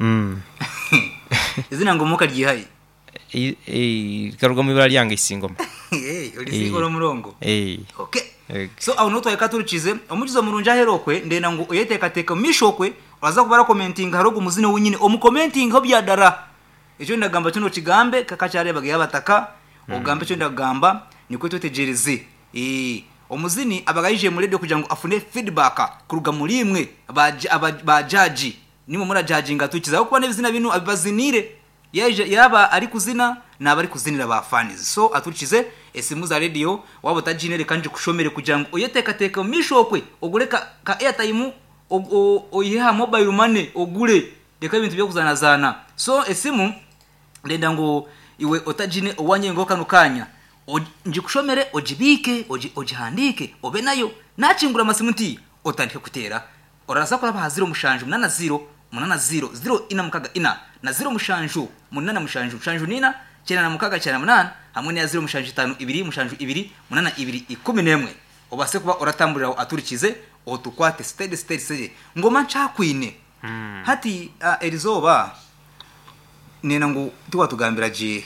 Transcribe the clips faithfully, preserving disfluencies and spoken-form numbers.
Mm. Izina Ngoma okaryihaye? Eh, eh, rikaruga mu ibara ryange Isingoma. Eh, ori ori omurongo. Eh. Okay. Eh. So aho niho twahika turikize omukizo murungi ahera okwe ndenda ngu oyeteekateeka omumaisho okwe oraza kuba orakomentinga hariho ogu muzini wenyine omukomentingeho byadara. Ekyo ndagamba kyo nokigambe kakakyareebaga yabataka ogambe ekyo ndagamba nikwo twetegyereze. Eh, omuzini abaga yaije mu radio kugira ngu afune feedback kuruga muri imwe ba judge nimwe murajudginga tukiza aho kuba n'ebizina binu abibazinire yaje yaba ari kuzina naba ari kuzinira ba fans. So aturikize esimu za radio waba utagine reka nje kushomere kugira ngo oyeteekateeke omu maisho okwe ogure ka, ka airtime oyihe aha mobile money ogure reka ebintu by'okuzanazaana. So esimu ndenda ngu iwe otagine owanyengaho kano kanya njikushomere ogibiike ogihandiike obe nayo nakingura amasimu nti otandike kuteera oraza kuraba aha ziro mushanju munana ziro munana ziro ziro ina mukaga ina na ziro mushanju munana mushanju mushanju nina cyenda na mukaga cyenda munana hamwe na ziro mushanju itanu ibiri mushanju ibiri munana ibiri ikumi n'emwe obase kuba oratamburira aturikize otukwate steady steady steady ngoma ncakwine. Mm. Hati uh, erizoba nena ngu tiwatugambira je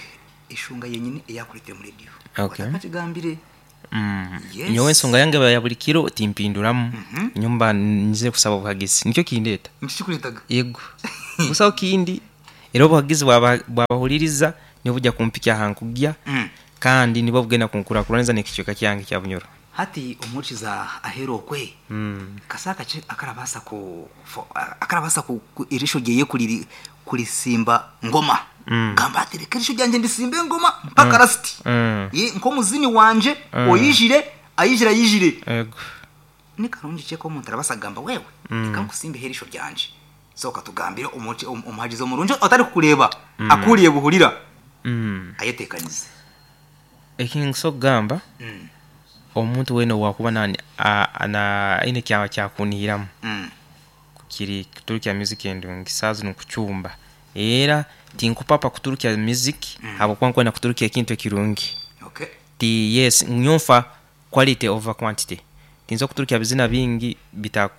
eshunga yenyine eyakuretera muri radio. Okay. Otakakigambire. Mm. Yes. Nyowe ensonga yange ya buri kiro timpinduramu. Mm -hmm. Nyumba nze kusaba obuhagizi nikyo kindeta. Nikikuretaga? Yego. Busaho kindi era obuhagizi bwabahuliriza nibo bujya kumpikya ahankugya. Mm. Kandi nibo bugenda kunkurakuranza n'ekicweka kyange kya Bunyoro. Hati omukiza ahera okwe. Mm. Kasaka ki akarabasa ku akarabasa ku, ku irisho ryeye kuri kurisimba ngoma. Mm. Gamba ati reka irisho ryanje ndisimbe ngoma mpaka Mm. rasiti. Mm. Ye nko muzini wanje Mm. oyijire ayijira ayijire. Yego. Ni karungi cheko omuntu arabasa gamba wewe. Mm. Reka nkusimbe irisho ryanje. So katugambire omuci omuhagizi omurungi otari kukureba Mm. akuriye buhurira. Mm. Ayetekanize. Ekinso gamba. Mm. Omuntu wena wakuba nani ana aine kya kyakunihiramu. Mm. Kiri kuturukya music endungi sazi nukuchumba era tinkupapa kuturukya music Mm. habwokuba nkwenda kuturukya ekintu ekirungi. Okay. Ti yes nyonfa quality over quantity tinza kuturukya bizina bingi bita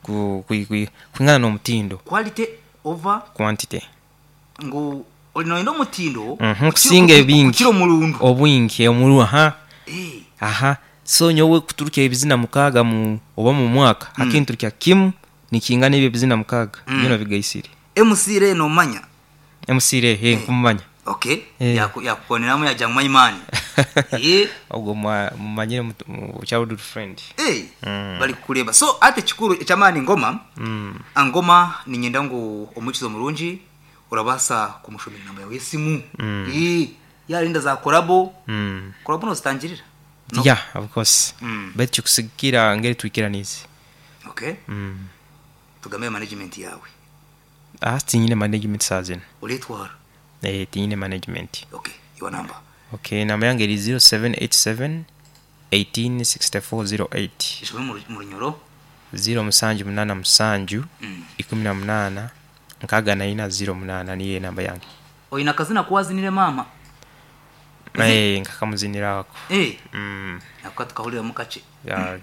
ku, ku, ku, kwingana n'omutindo. Quality over quantity ngu olinoenda omutindo Mhm, kusinga ebingi. kiro murundu obwingi omuru aha eh aha so nyowe kuturukya ebizina mukaga mu oba mu mwaka Mm. akinturukya kimu nikingana ebyo bizina mukaga Mm. bino bigaisire. M C re no manya M C re he nkumanya. Okay. Eh. Yaku yakukoneramu yajya mu imani. Eh ubwo mumanyire mu childhood friend. Eh Mm. bari kureba so ate kikuru ekyamani ngoma. Mm. Angoma ninyenda ngu omukizo murungi urabasa kumushomera namba yawe yesimu. Mm. Eh yarinda za collabo. Mm. Collabo no zitangirira. No. Yeah, of course. Mm. But kusigira ngeri twikiranize. Okay. Mm. Tugambe management yawe. Ah, tinyine management sazina. Uletwara. Eh, tinyine management. Okay, your number. Okay, namba yange eri zero seven eight seven eighteen sixty four zero eight. Ishobora mu runyoro? zero musanju munana musanju Mm. ikumi na munana nkaga na ina zero munana niye namba yange. Oyina kazina kuwazinire mama? Eh, nkakamuzinira ako. Eh. Mm. Nako tukahurira mu kace. Ya.